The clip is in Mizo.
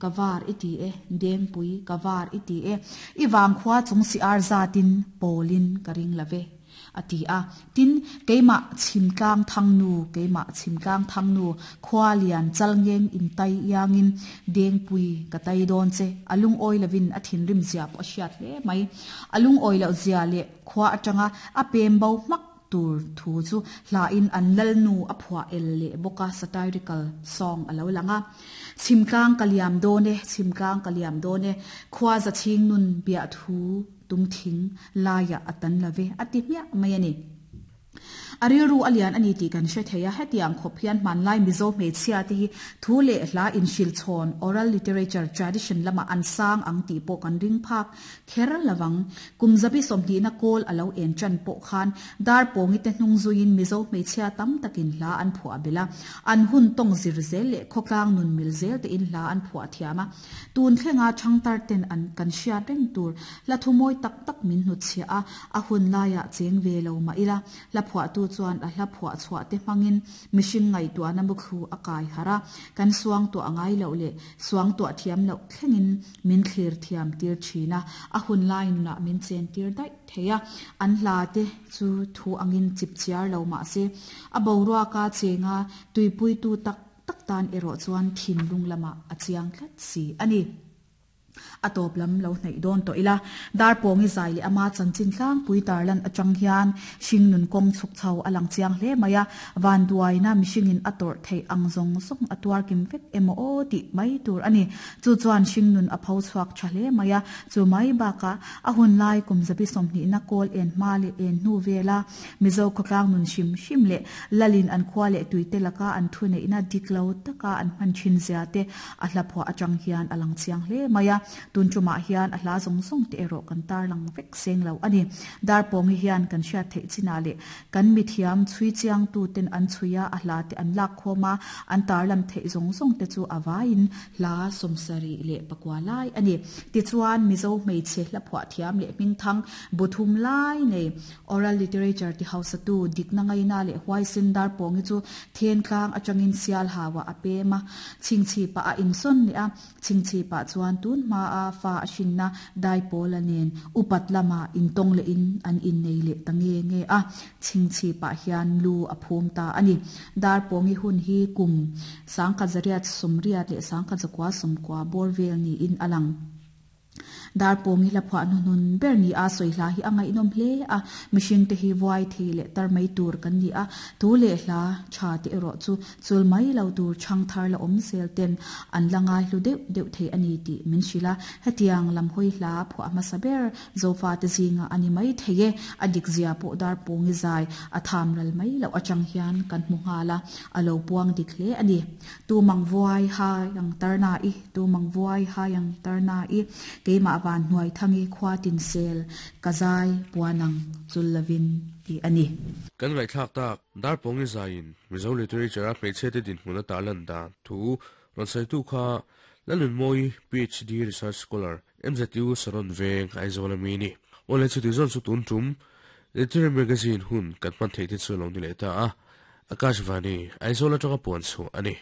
Ka var i ti e, Dengpui, ka var i ti e, i vangkhua chung si ar zatin pawlin ka ring lo ve, a ti a. Tin, keimah Chhimtlang Thangnu, keimah Chhimtlang Thangnu, khua lian chalngeng in tai iangin Dengpui ka tai dawn che, a lungawi lovin a thinrim zia pawh a hriat hle mai. A lungawi loh zia leh khua atanga a pem bo hmak tur thu chu hlain an lalnu a phuah el leh bawk a, satirical song a lo lang a. Chhimtlang ka liam dawn e, chhimtlang ka liam dawn e, khua za chhing nun biah thu tum thing laiah a tan lo ve, a ti hmiah mai a ni. A rilru a lian a ni tih kan hre thei a, hetiang khawp hian hmanlai Mizo hmeichhia te hi thu leh hla inhrilchhawn, oral literature tradition, lamah an sang ang tih pawh kan ring phak Kher lovang. Kum zabi sawmhnihna kawl a lo en tan pawh khan Darpawngi te hnung zuiin Mizo hmeichhia tam takin hla an phuah belh a. An hun tawng zir zel leh khawtlang nun mil zel tein hla an phuah thiam a. Tun thlenga thangtar ten an kan hriat reng tur hla thu mawi tak tak min hnutchhiah a, a hun laiah cheng ve lo mah ila hla phuahtu chuan a hla phuah chhuah te hmangin mihring ngaihtuahna muthlu a kai harh a, kan suangtuah ngai loh leh suangtuah thiam loh thlengin Min thlir thiam tir thin a, a hun lai nunah min chen tir daih thei a. An hla te chu thu angin chip chiar lo mah se, a boruaka chenga tuipuitu tak tak tan erawh chuan thinlung lamah a chiang tlat si a ni. A tawp lam lo hnaih dawn tawh ila, Darpawngi zai leh ama chanchin tlangpui tarlan atang hian hringnun kawng chhuk chho a lang chiang hle mai a, vanduaina mihringin a tawrh theih ang zawng zawng a tuar kim vek emaw aw tih mai tur a ni. Chu chuan hringnun a pho chhuak tha hle mai a, chu mai bakah a hun lai kum zabi sawmhnihna kawl en hma leh en hnu vela Mizo khawtlang nun hrim hrim leh Lalin an khua leh tuite laka an thuneihna dik lo taka an hman thin zia te a hla phuah atang hian a lang chiang hle mai a, tun tumah hian a hla zawng zawng te erawh kan tarlang vek seng lo a ni. Darpawngi hian kan hriat theih chinah leh Kan mithiam chhui chiangtuten an chhui a, a hla te an lak khawm a, an tarlam theih zawng zawng te chu a vaiin hla 74 lai a ni. Tichuan, Mizo hmeichhe hla phuah thiam leh hmingthang bu thum lai nei oral literature ti hausatu dikna ngaina leh huaisen Darpawngi chu Thentlang atangin Sialhauah a pem a, chhingchhipah a insawn leh a, Chhingchhipah chuan tun hmaa fa a hrinna Daipawla nen upat lama intawng lehin an innei leh ta nge nge a, Chhingchhipah hian lu a phum ta a ni. Darpawngi hun hi kum 1989 bawr vel niin a lang. Darpawngi hla phuah hnuhnun ber ni a sawi hla hi a ngaihnawm hle a, mihringte hi vuai thei leh tar mai tur kan ni a, tu leh hla tha te erawh chu Chul mai lo tur chhang thar la awm zel ten an la ngai hlu deuh deuh thei a ni tih min hrilh a, hetiang lam hawi hla phuah hmasa ber Zofa te zingah a ni mai thei e, a dik zia pawh Darpawngi zai a tham ral mai loh atang hian kan hmu nghal a, a lo puang dik hle a ni. Tu mang vuai hai ang tarna i, tu mang vuai hai ang tarna i, keimah van hnuai thangi khua tin sel ka zai puan ang chul lovin tih a ni. Kan ngaihthlak tak Darpawngi zaiin Mizo literature-a hmeichhiate dinhmun a tarlan dan thu rawn sawitu kha Lalnunmawi PhD Research Scholar, MZU Saron Veng, Aizawl a mi ni. Awle chuti zawn chu tun tum Literary Magazine hun kan hman theih te chu a lo ni leh ta a, Akashvani, Aizawl atanga puan chhuah a ni.